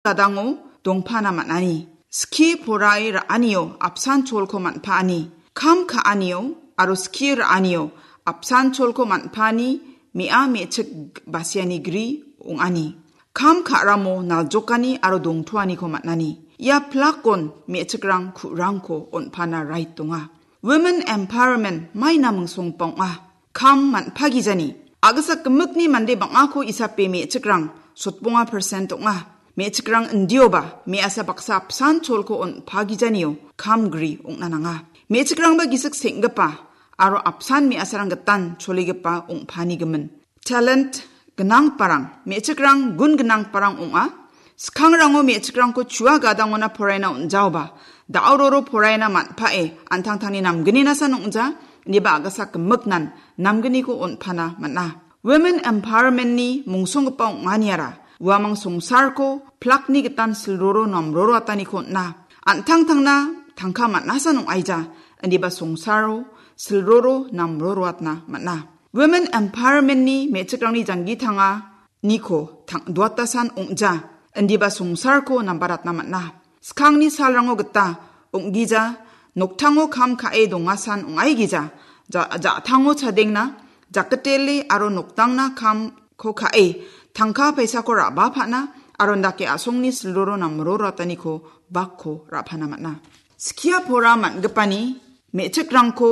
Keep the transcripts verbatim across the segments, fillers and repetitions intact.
gadango dongpana man·ani. Skie porae ra·anio apsan cholko man·paani. Kam ka·anio aro skie ra·anio apsan cholko man·paani me·a me·chik basiani gri ong·ani. Kam ka·ramo naljokani aro dongtoaniko man·ani. Ia plakon me·chikrang ku·rangko on·pana rait donga. Women empowerment maina mingsonggipa ong·a. Kam man·pagijani. A·gisa gimikni mande bang·ako isape me·chikrang sotbonga percent ong·a. Me·chikrang indioba me·asa baksa apsan cholko on·pagijanio kam gri ong·na nanga. Me·chikrangba gisik seng·gipa aro apsan me·asarang gitan choligipa ong·pani gimin. Talent gnangparang, me·chikrang gun gnangparang ong·a. Skangrango me·chikrangko chua gadangona poraina on·jaoba, da·o roro poraina man·pae, an·tangtangni namgninasan ong·ja, indiba a·gisa gimiknan namgniko on·pana man·a. Women empowerment-ni mungsonggipa ong·aniara, uamang songsarko plakni gitan silroro namroroataniko on·a. An·tangtangna tangka man·asan ong·aija, indiba songsaro silroro namroroatna man·a. Women empowerment-ni me·chikrangni janggi tanganiko tang-, duatasan ong·ja, indiba songsarko nambaratna man·a. Skangni salrango gita ong·gija, noktango kam ka·e dongasan ong·aigija, ja-, ja·tango chadengna, jaketele aro noktangna kamko ka·e, tangka paisako ra·bapana, aro indake a·songni silroro namroroataniko bakko ra·pana man·a. Skia pora man·gipani me·chikrangko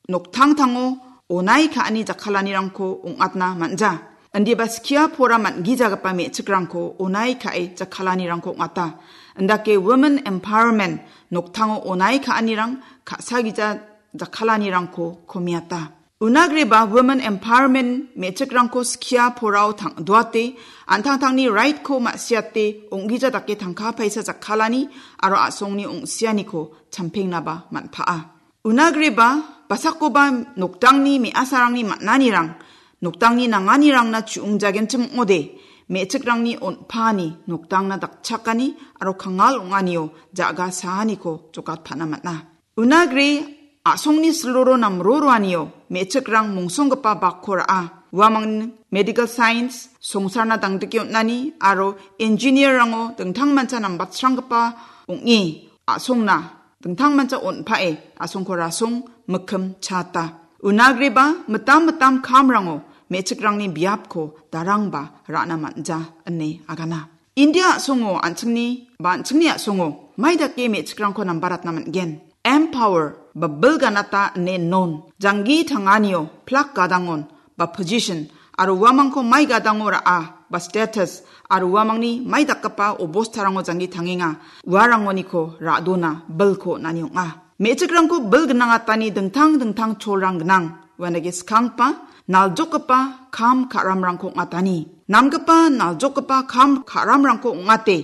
noktangtango onai ka·ani jakkalanirangko ong·atna man·ja. Indiba skia pora man·gijagipa me·chikrangko onai ka·e jakkalanirangko ong·ata. Indake women empowerment noktango onai ka·anirang ka·sagija jakkalanirangko komiata. Unagreba women empowerment me·chikrangko skia porao tang-, duate, an·tangtangni right-ko ma·siate, ong·gija dake tangka paisa jakkalani aro a·songni ong·sianiko champengnaba man·pa'a. Unagreba, basakoba noktangni me·asarangni man·anirang, noktangni nanganirangna chu·ongjagenchim ong·ode, me·chikrangni on·paani noktangna dakchakani aro kangal ong·anio ja·ga saaniko jokatpana man·a. Unagre a·songni silroro namroroanio me·chikrang mongsonggipa bakko ra·a. Uamang medical science, songsarna dangdike on·ani aro engineer-rango dingtangmancha nambatsranggipa ong·e a·songna dingtangmancha on·pae a·songko rasong mikkim chaata. Unagreba mitam mitam kamrango me·chikrangni biapko darangba ra·na man·ja ine agana. India a·songo an·chingni ba an·chingni a·songo mai dake me·chikrangko nambaratna man·gen? Empower ba bilganata ine non. Janggi tanganio plak gadangon ba position aro uamangko mai gadango ra·a ba status aro uamangni mai dakgipa obostarango janggi tangenga, uarangoniko ra·dona bilko on·ani ong·a. Me·chikrangko bil gnangatani dingtang dingtang cholrang gnang. Uanage skanggipa, naljokgipa kam ka·ramrangko ong·atani. Namgipa naljokgipa kam ka·ramrangko ong·ate,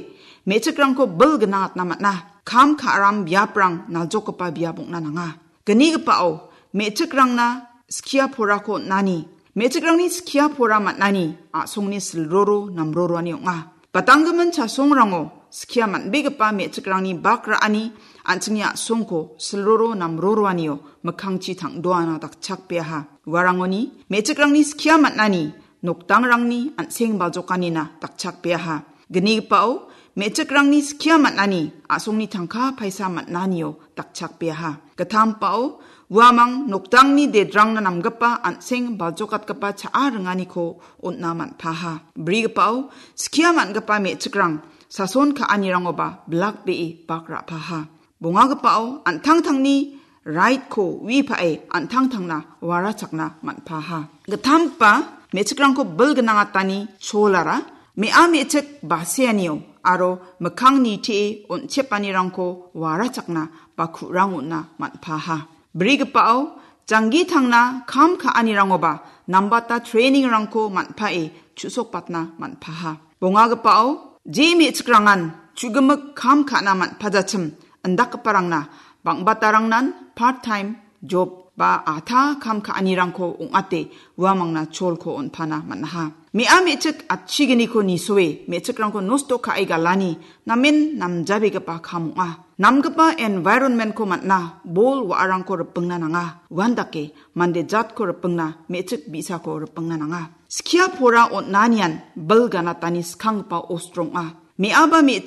me·chikrangko bil gnangatna man·a. Kam ka·ram biaprang naljokgipa biap ong·na nanga. Gnigipao, me·chikrangna skia porako on·ani. Me·chikrangni skia pora man·ani a·songni silroro namroroani ong·a. Batanggimin chasongrango skia man·begipa me·chikrangni bak ra·ani an·chingni a·songko silroro namroroanio mikkangchi tang·doana dakchakbeaha. Uarangoni me·chikrangni skia man·ani nokdangrangni an·seng baljokanina dakchakbeaha. Gnigipao me·chikrangni skia man·ani a·songni tangka paisa man·anio dakchakbeaha. Gitampao uamang nokdangni dedrangna namgipa an·seng baljokatgipa cha·a ringaniko on·na man·paha. Brigipao skia man·gipa me·chikrang sason ka·anirangoba bilakbee bak ra·paha. Bongagipao an·tangtangni raitko uipae an·tangtangna warachakna man·paha. Gitamgipa me·chikrangko bil gnangatani cholara me·a me·chik baseanio aro mikkang nitie on·chepanirangko warachakna ba ku·rang on·na man·paha. Brigipao janggi tangna kam ka·anirangoba nambata training-rangko man·pae chu·sokbatna man·paha. Bongagipao je me·chikrangan chu·gimik kam ka·na man·pajachim indakgiparangna bang·batarangnan part time job ba atha kam ka·anirangko ong·ate uamangna cholko on·pana man·aha. Me·a me·chik atchigniko nisoe me·chikrangko nosto ka·e galani namen namjabegipa kam ong·a. Namgipa environment-ko man·na bol wa·arangko ripingna nanga. Uandake mande jatko ripingna me·chik bi·sako ripingna nanga. Skia pora on·anian bil ganatani skanggipa ostro ong·a. Me·aba me·chik